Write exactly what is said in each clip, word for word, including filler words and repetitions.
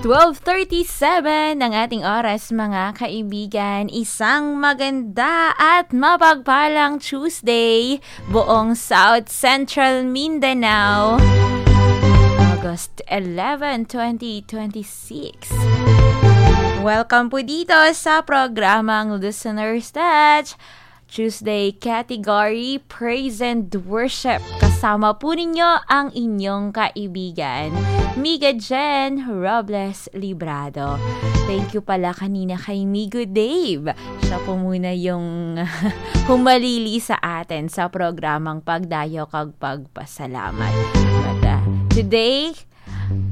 Twelve thirty-seven ang ating oras, mga kaibigan. Isang maganda at mapagpalang Tuesday, buong South Central Mindanao. August eleven, twenty twenty-six. Welcome po dito sa programang Listener's Touch Tuesday category, Praise and Worship. Kasama po ninyo ang inyong kaibigan, Miga Jen Robles Librado. Thank you pala kanina kay Migo Dave. Siya po muna yung humalili sa atin sa programang Pagdayo kag Pagpasalamat. But, uh, today,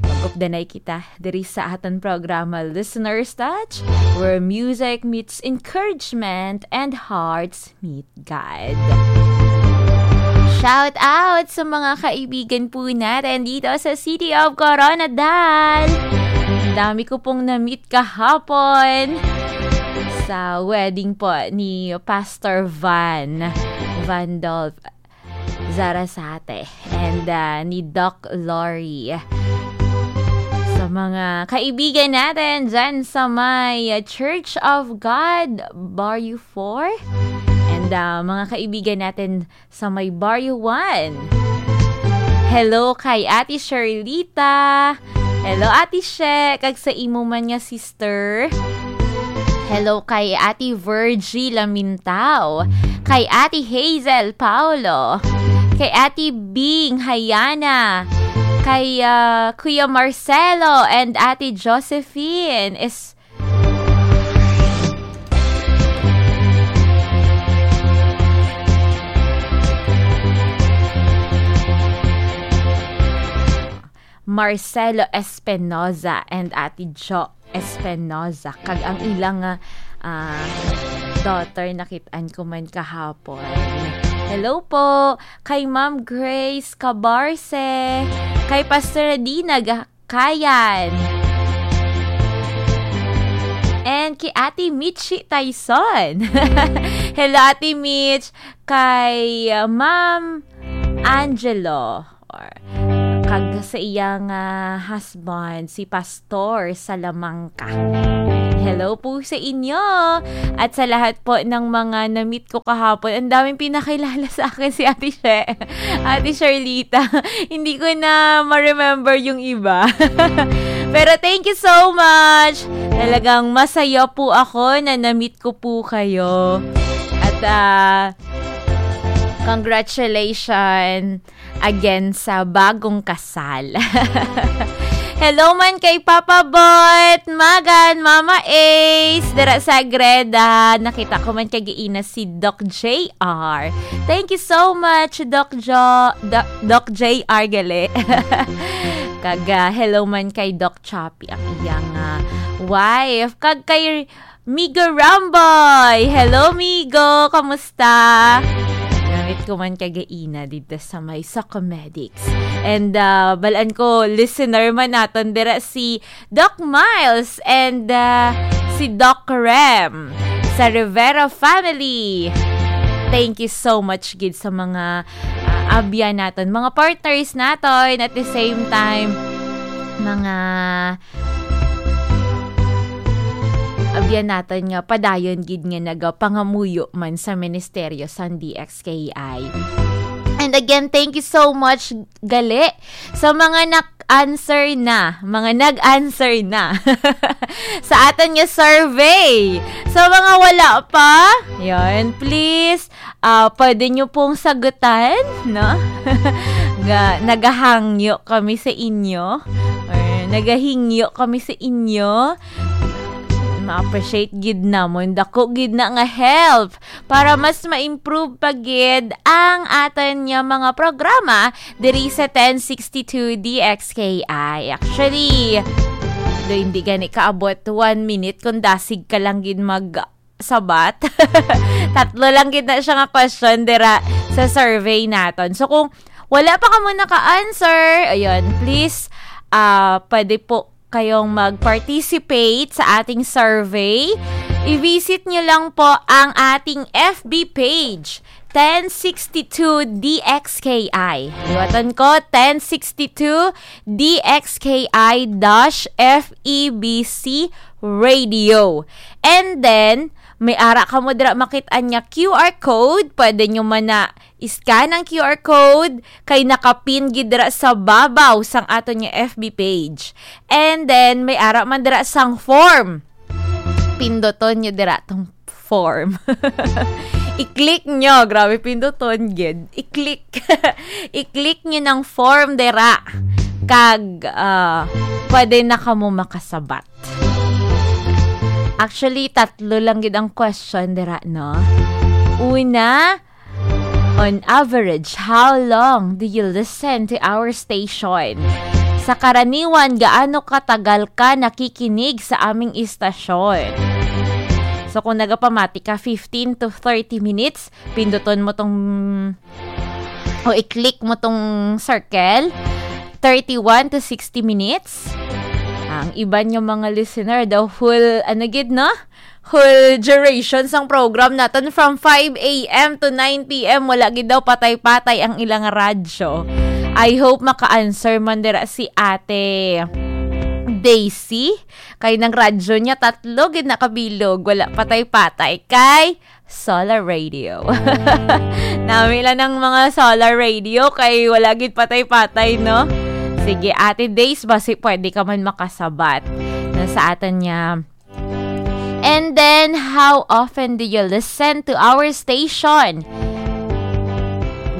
mag-updanay kita diri sa aton programa, Listener's Touch, where music meets encouragement and hearts meet God. Shout out sa mga kaibigan po natin dito sa City of Koronadal. Ang dami ko pong na-meet kahapon sa wedding po ni Pastor Van, Van Dolph Zarasate and, ah, ni Doc Lori. Sa mga kaibigan natin dyan sa may, ah, Church of God, Barrio four. And, ah, mga kaibigan natin sa may Barrio one. Hello kay Ate Sherlita. Hello, Ate She. Kag sa imo man nga sister. Hello kay Ate Virgie Lamintao. Kay Ate Hazel Paulo. Kay Ate Bing Hayana. Kay, ah, Kuya Marcelo and Ate Josephine. Is Marcelo Espinoza and Ate Jo Espinoza. Kag ang ilang, ah, ah, daughter, nakit-an ko man kahapon. Hello po kay Ma'am Grace Cabarce, kay Pastor Dina Ga-, Kayan, and kay Ate Michi Tyson. Hello, Ate Mitch. Kay, uh, Ma'am Angelo, or kag sa iyang, ah, husband, si Pastor Salamanca. Hello po sa inyo. At sa lahat po ng mga na-meet ko kahapon, ang daming pinakilala sa akin si Ate She, Ate Sherlita. Hindi ko na ma-remember yung iba. Pero thank you so much. Talagang masaya po ako na na-meet ko po kayo. At, ah, congratulations again sa bagong kasal. Hello man kay Papa Bot, Magan, Mama Ace, dira sa Agreda. Nakita ko man kag ina si Doc J R. Thank you so much, Doc Jo, Doc, Doc J R gali. Kag, ah, hello man kay Doc Chappy, ang iyang, ah, wife. Kag kay Migo Ramboy. Hello, Migo. Kamusta? Gamit ko man kagaina dito sa may Socomedics. And, ah, balan ko, listener man naton dira si Doc Miles and, ah, si Doc Rem sa Rivera family. Thank you so much gid sa mga, ah, abyan naton, mga partners naton, at the same time, mga abyan naton nga padayon gid nga nagapangamuyo man sa ministeryo sang D X K I. And again, thank you so much gali sa mga nag-answer na, mga nag-answer na sa aton nga survey. Sa mga wala pa, yon, please, ah, pwede nyo pong sagutan, no? Ga-, nagahangyo kami sa inyo, or nagahingyo kami sa inyo. Ma-appreciate gid namon. Dako gid na nga help para mas ma-improve pa gid ang aton nga mga programa diri sa ten sixty-two D X K I. Actually, do hindi gani kaabot one minute kung dasig ka lang gid mag sabat. Tatlo lang gid na siya nga question dira sa survey naton. So, kung wala pa kamo naka-answer, ayun, please, ah, pwede po kayong mag-participate sa ating survey. I-visit nyo lang po ang ating F B page, ten sixty-two D X K I. Liwatan ko, ten sixty-two D X K I dash F E B C Radio. And then, may ara kamo dira makit-an nga Q R code. Pwede nyo man na i-scan ang Q R code kay nakapin gid dira sa babaw sang aton nga F B page. And then, may ara man dira sang form. Pinduton nyo dira tong form. I-click nyo. Grabe, pinduton gid. I-click. I-click nyo ng form dira. Kag, ah, pwede na kamo makasabat. Actually, tatlo lang gid ang question dira, no? Una, on average, how long do you listen to our station? Sa karaniwan, gaano katagal ka nakikinig sa aming istasyon? So, kung nagapamati ka, fifteen to thirty minutes, pinduton mo tong, o i-click mo tong circle, thirty-one to sixty minutes. Ang iban nga mga listener, the whole, ano gid, no? Whole duration sang program naton from five a m to nine p m, wala gid daw patay-patay ang ilang radyo. I hope maka-answer man dira si Ate Daisy. Kay nang radyo niya, tatlo gid nakabilog, wala patay-patay. Kay Solar Radio. Nami lang ng mga Solar Radio kay wala gid patay-patay, no? Sige, Ate Days, basi pwede ka man makasabat na sa aton niya. And then, how often do you listen to our station?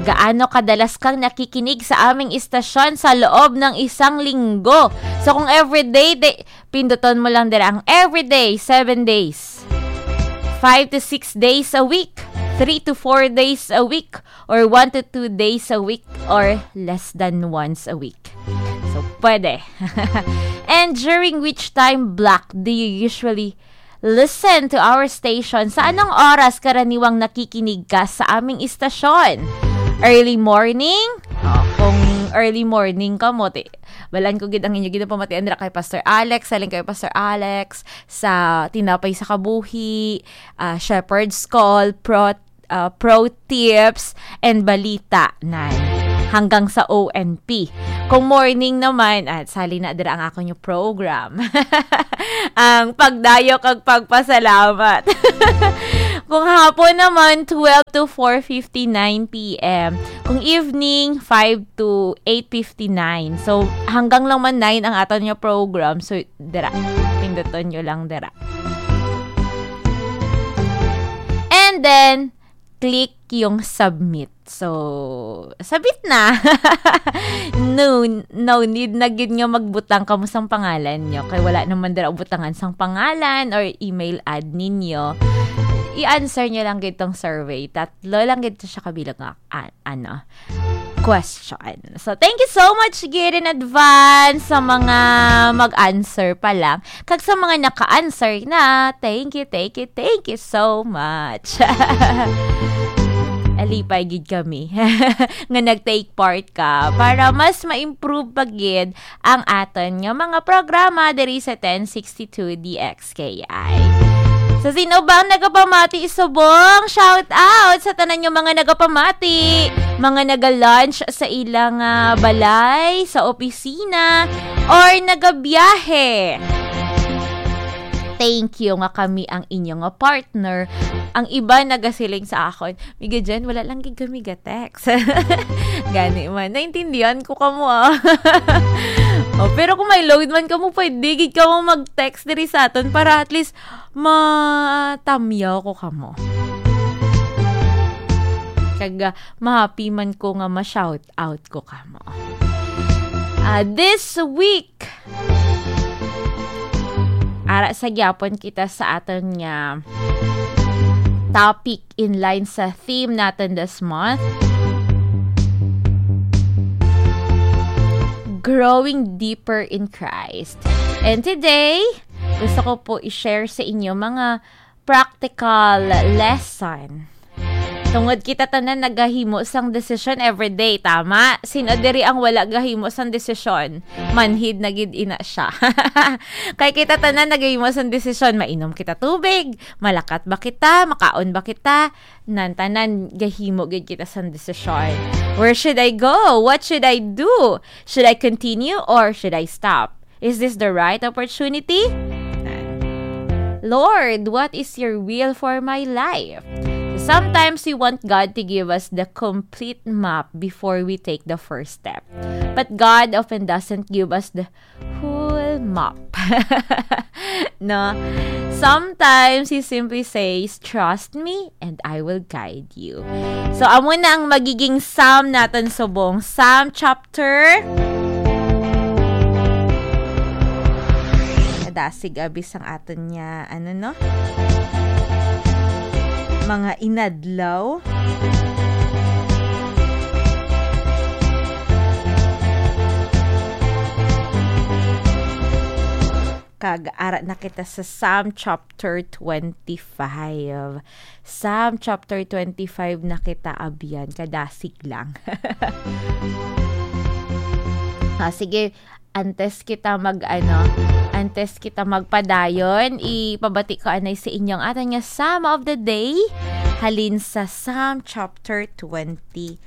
Gaano kadalas kang nakikinig sa aming istasyon sa loob ng isang linggo? So, kung everyday, day, pinduton mo lang dira ang everyday, seven days. Five to six days a week, three to four days a week, or one to two days a week, or less than once a week. So, pwede. And during which time block do you usually listen to our station? Sa anong oras karaniwang nakikinig ka sa aming istasyon? Early morning? Oh, kung early morning ka mo, ti-, balan ko gid ang inyo ginapamatian dira kay Pastor Alex, saling kay Pastor Alex, sa Tinapay sa Kabuhi, ah, Shepherd's Call, Pro, ah, Pro Tips, and Balita, nan. Hanggang sa O N P. Kung morning naman, at sali na dira ang akon yung program. Ang pagdayo kag pagpasalamat. Kung hapon naman, twelve to four fifty-nine p m. Kung evening, five to eight fifty-nine. So, hanggang lang man nine ang aton nga program. So, dira, pinduton nyo lang dira. And then, click yung submit. So, submit na. No, no need na gid nga magbutang kamo sang pangalan nyo. Kay wala naman dira butangan sang pangalan or email ad ninyo. I-answer nyo lang gid tong survey. Tatlo lang gid to siya kabilang nga, a-, ano, question. So, thank you so much gid in advance sa mga mag-answer pa lang. Kag sa mga naka-answer na, thank you, thank you, thank you so much. Alipay gid kami nga nag-take part ka para mas ma-improve pa gid ang aton nga mga programa diri sa ten sixty-two D X K I. So, sino ba ang nagapamati subong? Shout out sa tanan nga mga nagapamati, mga naga-lunch sa ilang, ah, balay, sa opisina, or nagabiyahe. Thank you nga kami ang inyo nga partner. Ang iba nagasiling sa akon, "Miga Jen, wala lang gid kami ga-text." Gani man, naintindihan ko kamo, ah. Oh, pero kung may load man kamo, pwede gid kamo mag-text diri sa aton para at least matamyaw ko kamo. Kag, ah, ma-happy man ko nga ma-shout out ko kamo. Ah, this week, ara sa gyapon kita sa aton nga topic in line sa theme natin this month, Growing Deeper in Christ. And today, gusto ko po i-share sa inyo mga practical lesson Tungod kita tanan nagahimo sang desisyon every day, tama? Sino diri ang wala gahimo sang desisyon? Manhid na gid ina siya. Kay kita tanan nagahimo sang desisyon, mainom kita tubig, malakat ba kita, makaon ba kita, nan tanan gahimo gid kita sang desisyon. Where should I go? What should I do? Should I continue or should I stop? Is this the right opportunity? Lord, what is your will for my life? Sometimes we want God to give us the complete map before we take the first step. But God often doesn't give us the whole map. No? Sometimes He simply says, "Trust me and I will guide you." So, amo na ang magiging Psalm naton subong. Psalm chapter. Kadasig abi sang aton niya, ano, no? Mga inadlaw. Kag ara na kita sa Psalm chapter twenty-five. Psalm chapter twenty-five na kita, abyan, kadasig lang. Ah, sige, antes kita mag, ano, antes kita magpadayon, ipabati ko anay sa inyo ang aton nga Psalm of the Day, halin sa Psalm chapter twenty-five.